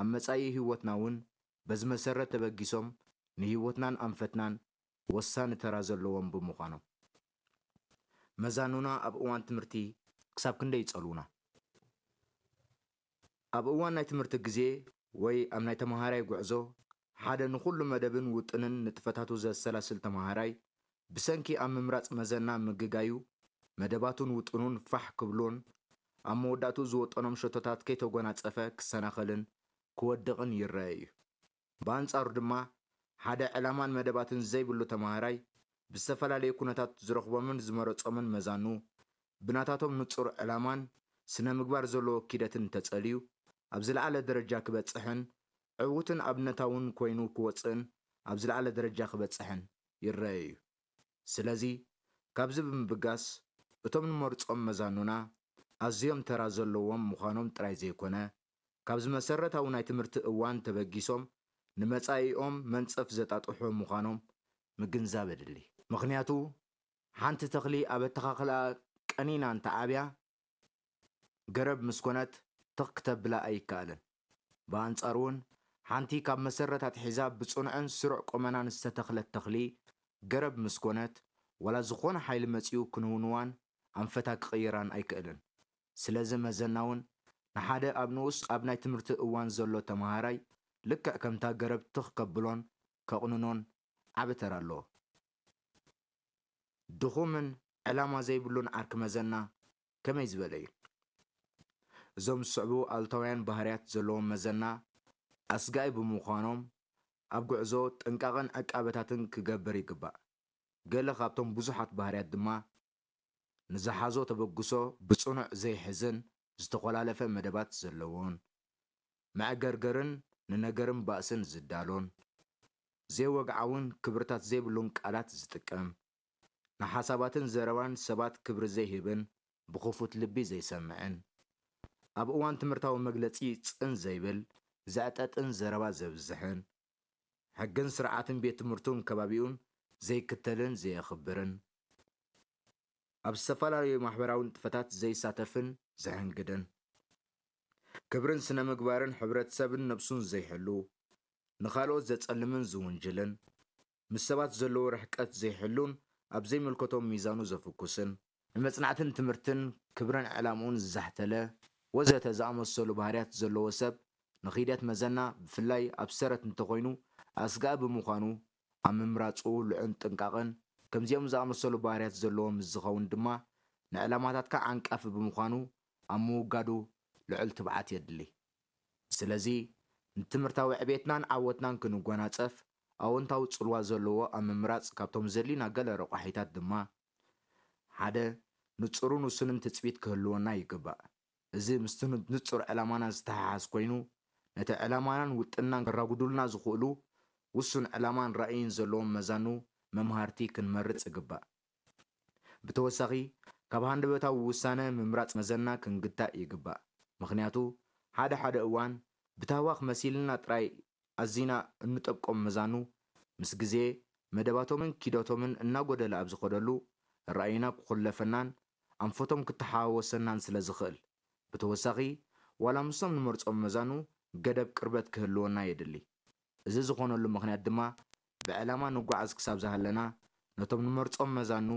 ኣብ መጻኢ ህይወትና እውን በዚ መሰረት ተበጊሶም ንህይወትናን ኣንፈትናን ወሳኒ ተራ ዘለዎም ብምዃኖም። መዛኑና ኣብ እዋን ትምህርቲ ክሳብ ክንደይ ይጸልዉና? ኣብ እዋን ናይ ትምህርቲ ግዜ ወይ ኣብ ናይ ተመሃራይ ጉዕዞ፣ ሓደ ንኹሉ መደብን ውጥንን ንጥፈታቱ ዘሰላስል ተመሃራይ፣ ብሰንኪ ኣብ ምምራጽ መዘና ምግጋዩ፣ መደባቱን ውጥኑን ፋሕ ክብሉን ኣብ መወዳእትኡ ዝወጠኖም ሸቶታት ከይተጎናጸፈ ክሰናኸልን ክወድቕን ይረአ እዩ። ብኣንጻሩ ድማ፣ ሓደ ዕላማን መደባትን ዘይብሉ ተመሃራይ፣ ብዝተፈላለየ ኩነታት ዝረኽቦምን ዝመረጾምን መዛኑ፣ ብናታቶም ንጹር ዕላማን ስነ ምግባር ዘለዎ ኪደትን ተጸልዩ፣ ኣብ ዝለዓለ ደረጃ ክበጽሕን ዕዉትን ኣብነታውን ኮይኑ ክወጽእን ኣብ ዝለዓለ ደረጃ ክበጽሕን ይረአ እዩ። ስለዚ፣ ካብዚ ብምብጋስ፣ እቶም ንመርጾም መዛኑና ኣዝዮም ተራ ዘለዎም ምዃኖም ጥራይ ዘይኮነ፣ ካብዚ መሰረታዊ ናይ ትምህርቲ እዋን ተበጊሶም ንመጻኢኦም መንጸፍ ዘጣጥሑ ምዃኖም ምግንዛብ የድሊ። ምኽንያቱ፣ ሓንቲ ተኽሊ ኣብ ኣተኻኽላ ቀኒና እንተዓብያ፣ ገረብ ምስ ኮነት ትኽ ክተብላ ኣይከኣልን። ብኣንጻሩ እውን፣ ሓንቲ ካብ መሰረት ኣትሒዛ ብጽኑዕን ስሩዕ ቁመናን ዝተተኽለት ተኽሊ ገረብ ምስ ኮነት፣ ዋላ ዝኾነ ሓይሊ መጺኡ ክንውንዋን ኣንፈታ ክቕይራን ኣይክእልን። ስለዚ መዘና እውን ንሓደ ኣብ ንኡስ ኣብ ናይ ትምህርቲ እዋን ዘሎ ተመሃራይ ልክዕ ከምታ ገረብ ትኽ ከብሎን ከቕንኖን ዓቢ ተራ ኣለዎ። ድኹምን ዕላማ ዘይብሉን ዓርኪ መዘና ከመይ ዝበለ እዩ? እዞም ዝስዕቡ ኣሉታውያን ባህርያት ዘለዎም መዘና ኣስጋኢ ብምዃኖም ኣብ ጉዕዞ ጥንቃቐን ዕቃበታትን ክገብር ይግባእ። ገለ ካብቶም ብዙሓት ባህርያት ድማ ንዝሓዞ ተበግሶ ብጽኑዕ ዘይሕዝን ዝተኾላለፈ መደባት ዘለዎን፣ መዕገርገርን ንነገርን ባእስን ዝዳሎን፣ ዘይወግዓውን ክብርታት ዘይብሉን ቃላት ዝጥቀም፣ ንሓሳባትን ዘረባን ሰባት ክብሪ ዘይህብን ብኽፉት ልቢ ዘይሰምዕን፣ ኣብ እዋን ትምህርታዊ መግለጺ ጽን ዘይብል ዘዕጠጥን ዘረባ ዘብዝሕን፣ ሕግን ስርዓትን ቤት ትምህርቱን ከባቢኡን ዘይክተልን ዘየኽብርን፣ ኣብ ዝተፈላለዩ ማሕበራዊ ንጥፈታት ዘይሳተፍን ዘሕንግድን፣ ክብርን ስነ ምግባርን ሕብረተሰብን ነብሱን ዘይሕሉ፣ ንኻልኦት ዘጸልምን ዝውንጅልን፣ ምስ ሰባት ዘለዎ ርሕቀት ዘይሕሉን ኣብ ዘይምልከቶም ሚዛኑ ዘፍኩስን፣ ንመጽናዕትን ትምህርትን ክብርን ዕላምኡን ዝዛሕተለ ወዘተ ዝኣመሰሉ ባህርያት ዘለዎ ሰብ ንኺደት መዘና ብፍላይ ኣብ ሰረት እንተኾይኑ ኣስጋኢ ብምዃኑ ኣብ ምምራጹ ልዑል ጥንቃቐን ከምዚኦም ዝኣመሰሉ ባህርያት ዘለዎ ምስ ዝኸውን ድማ ንዕላማታትካ ዓንቃፊ ብምዃኑ ኣብ ምውጋዱ ልዑል ትብዓት የድሊ። ስለዚ ንትምህርታዊ ዕቤትናን ዓወትናን ክንጎናጸፍ ኣወንታዊ ጽልዋ ዘለዎ ኣብ ምምራጽ ካብቶም ዘድልዩና ገለ ረቋሒታት ድማ ሓደ ንጹርን ውሱንን ትጽቢት ክህልወና ይግባእ። እዚ ምስቲ ንጹር ዕላማና ዝተሓሓዝ ኮይኑ ነቲ ዕላማናን ውጥንናን ከራጉዱልና ዝኽእሉ ውሱን ዕላማን ራእይን ዘለዎም መዛኑ መምሃርቲ ክንመርጽ ይግባእ። ብተወሳኺ ካብ ሃንደበታዊ ውሳነ ምምራጽ መዘና ክንግታእ ይግባእ። ምኽንያቱ ሓደ ሓደ እዋን ብታህዋኽ መሲልና ጥራይ ኣዚና እንጠብቆም መዛኑ ምስ ግዜ መደባቶምን ኪደቶምን እናጎደለ ኣብ ዝኸደሉ ራእይና ክኹለፈናን ኣንፈቶም ክተሓዋወሰናን ስለ ዝኽእል ብተወሳኺ ዋላ ምስቶም ንመርጾም መዛኑ ገደብ ቅርበት ክህልወና የድሊ። እዚ ዝኾነሉ ምኽንያት ድማ ብዕላማ ንጓዓዝ ክሳብ ዝሃለና ነቶም ንመርጾም መዛኑ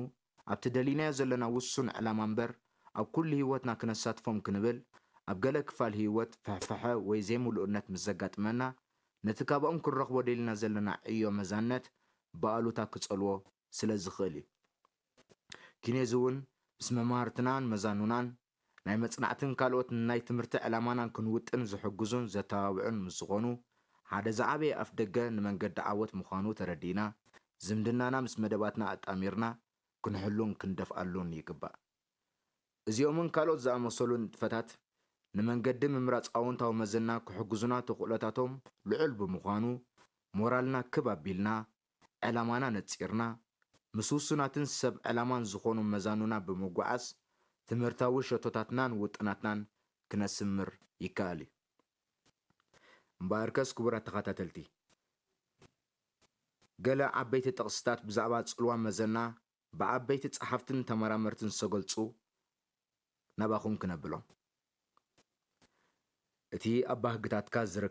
ኣብቲ ደሊናዮ ዘለና ውሱን ዕላማ እምበር ኣብ ኩሉ ህይወትና ክነሳትፎም ክንብል ኣብ ገለ ክፋል ህይወት ፍሕፍሐ ወይ ዘይምሉእነት ምስ ዘጋጥመና ነቲ ካብኦም ክንረኽቦ ደሊና ዘለና ዕዮ መዛነት ብኣሉታ ክጸልዎ ስለ ዝኽእል እዩ። ኪኔዚ እውን ምስ መማህርትናን መዛኑናን ናይ መጽናዕትን ካልኦት ናይ ትምህርቲ ዕላማናን ክንውጥን ዝሕግዙን ዘተባብዑን ምስ ዝኾኑ ሓደ ዝዓበየ ኣፍ ደገ ንመንገዲ ዓወት ምዃኑ ተረዲእና ዝምድናና ምስ መደባትና ኣጣሚርና ክንሕሉን ክንደፍኣሉን ይግባእ። እዚኦምን ካልኦት ዝኣመሰሉ ንጥፈታት ንመንገዲ ምምራጽ ኣወንታዊ መዘና ክሕግዙና ተኽእሎታቶም ልዑል ብምዃኑ ሞራልና ክብ ኣቢልና ዕላማና ነጺርና ምስ ውሱናትን ሰብ ዕላማን ዝኾኑ መዛኑና ብምጉዓዝ ትምህርታዊ ሸቶታትናን ውጥናትናን ክነስምር ይከኣል እዩ። እምበኣርከስ ክቡራት ተኸታተልቲ፣ ገለ ዓበይቲ ጥቕስታት ብዛዕባ ጽልዋ መዘና ብዓበይቲ ጸሓፍትን ተመራመርትን ዝተገልጹ ናባኹም ክነብሎም። እቲ ኣብ ባህግታትካ ዝርከብ